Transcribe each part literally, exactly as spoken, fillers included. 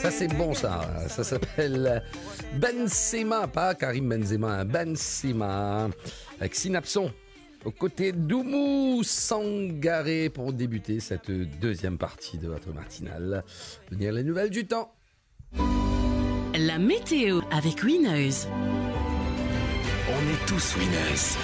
Ça, c'est bon, ça. Ça s'appelle Benzema, pas Karim Benzema, hein. Benzema, avec Synapson, aux côtés d'Oumou Sangaré pour débuter cette deuxième partie de votre matinale. Venir les nouvelles du temps. La météo avec Winners. On est tous winners.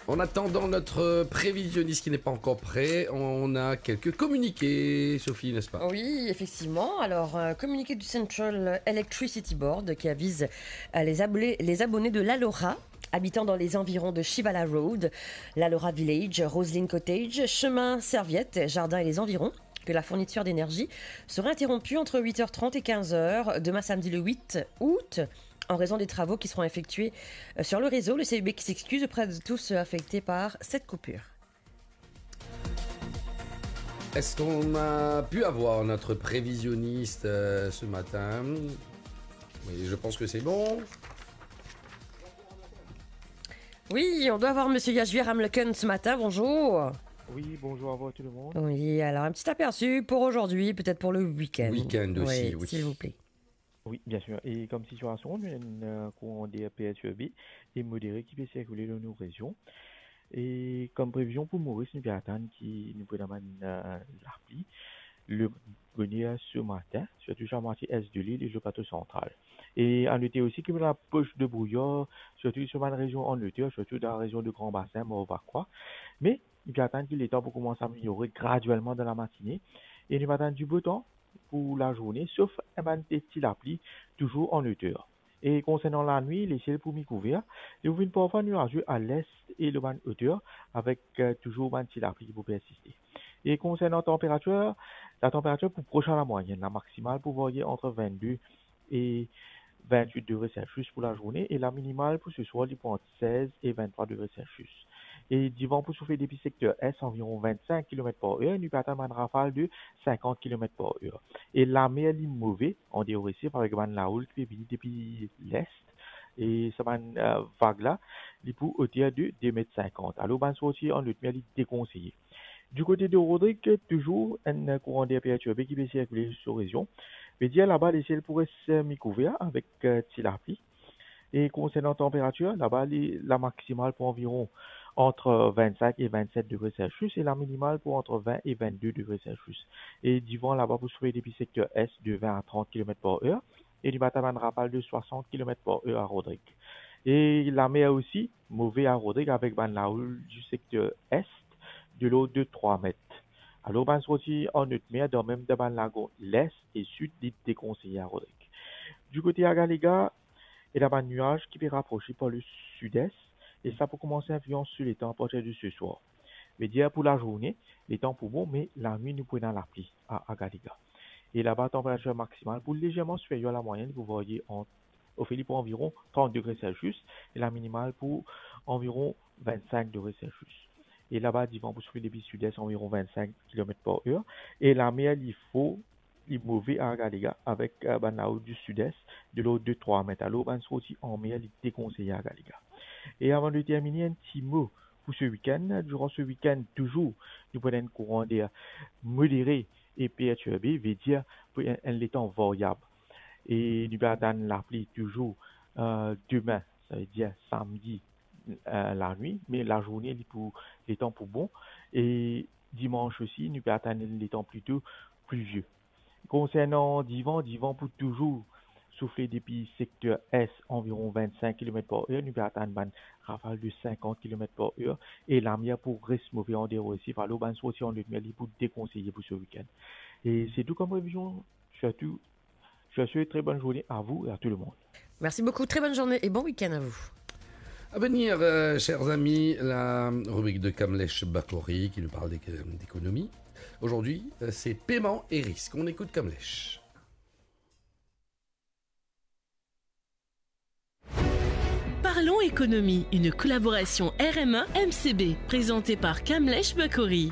En attendant notre prévisionniste qui n'est pas encore prêt, on a quelques communiqués, Sophie, n'est-ce pas ? Oui, effectivement. Alors, un communiqué du Central Electricity Board qui avise, euh, les abonnés, les abonnés de l'Alora, habitant dans les environs de Shivala Road, l'Alora Village, Roslyn Cottage, Chemin Serviette, Jardin et les environs, que la fourniture d'énergie sera interrompue entre huit heures trente et quinze heures demain samedi le huit août en raison des travaux qui seront effectués, euh, sur le réseau. Le C E B qui s'excuse auprès de tous ceux affectés par cette coupure. Est-ce qu'on a pu avoir notre prévisionniste, euh, ce matin ? Oui, je pense que c'est bon. Oui, on doit avoir Monsieur Yashvir Hamleken ce matin. Bonjour. Oui, bonjour à vous, tout le monde. Oui, alors un petit aperçu pour aujourd'hui, peut-être pour le week-end. Week-end aussi, oui, oui. S'il vous plaît. Oui, bien sûr. E kom sitiasion, nou ena enn, euh, kouran der pertirbe e modere ki pe sirkile dan nou rezion. E kom previzion pou Moris, nou pe atann ki nou pou ena bann, euh, lapli, le boner se matin, sirtou sa mwatie es de lil e le plato santral. E a note osi ki nou ena pos de brouyar, sirtou sa bann rezion an loter, sirtou dan la rezion de Gran Basin, Morvan, Vakwa. Me nou pe atann ki letan pou koumans ameliore graduelman dan lamatine. E nou pe atann dibotan pou lazourne, sof enn bann ti lapli touzour an loter. E konsernan lanwit, lesiel pou mikouver, li pou vinn parfwa nwaze a lest e lor bann oter, avek, euh, touzour bann ti lapli ki pou persiste. E konsernan tanperatir, latanperatir pou pros a lamwayenn, lamaksimal pou varye ant vennde e vennwit degre Celsius pou lazourne, e laminimal pou seswar, li pou ant sez e venntrwa degre Celsius. E divan pou soufle depi sekter es, anviron vennsink kilomet par er, nou pe atann bann rafal de sinkant kilomet par er. E lamer, li move an deor Resef avek bann laoul ki pe vini depi lest, e sa bann, euh, vag la, li pou oter de de met sinkant. Alor, bann sorti an lot mer, li dekonseye. Du kote de Rodrig, touzour enn kouran der pertirbe ki pe sirkile so rezion. Vedir laba, lesiel pou res mikouver avek, euh, ti lapli. E konsernan tanperatir, laba, li, lamaksimal pou anviron ant vennsink e vennset degre Celsius e laminimal pou ant vin e vennde degre Celsius. E divan laba pou soufle depi sekter es de vin a trant kilomet par er. E nou pe atann bann rafal de swasant kilomet par er a Rodrig. E lamer osi move a Rodrig avek bann laoul di sekter es de lord de trwa met. Alor, bann sorti an lot mer, dan mem dan bann lagon lest e sid, li dekonseye a Rodrig. Du kote a Galega, ena bann nwaz ki pe raprose par le sides, e sa pou koumans inflians sou letan apartir de seswar. Vedir pou lazourne, letan pou bon, me lanwit nou pou ena lapli a, a Galega. E laba, tanperatir maksimal pou lezerman siferyer a lamwayenn, li pou varye ant, anfin, li pou anviron trant degre Celsius, e laminimal pou anviron vennsink degre Celsius. E laba, divan pou soufle depi sides, anviron vennsink kilomet par er, e lamer, li for, li move a Galega avek, euh, bann laoul di sides de lord de trwa met. Alor, bann sorti an mer, li dekonseye a Galega. E avan de termine, enn ti mo pou se wikenn. Diran se wikenn, touzour, nou pou ena enn kouran der modere e pertirbe, vedir pou enn, enn letan varyab. E nou pe atann lapli touzour, euh, demin, savedir samdi, euh, lanwit, me lazourne, li pou, letan pou bon. E dimans osi, nou pe atann enn letan plito plivie. Konsernan divan, divan pou touzour soufle depi sekter es, anviron vennsink kilomet par er, nou pe atann bann rafal de sinkant kilomet par er, e lamer pou res move an deor Resef, alor bann sorti an lot mer, li pou dekonseye pou se wikenn. E se tou kom previzion, sirtou, je vous souhaite très bonne journée à vous et à tout le monde. Merci beaucoup, très bonne journée et bon week-end à vous. À venir, euh, chers amis, la rubrique de Kamlesh Bakori qui nous parle d'éco-, d'économie. Aujourd'hui, euh, c'est paiement et risque. On écoute Kamlesh. Parlons économie, une collaboration R M A M C B, présentée par Kamlesh Bakori.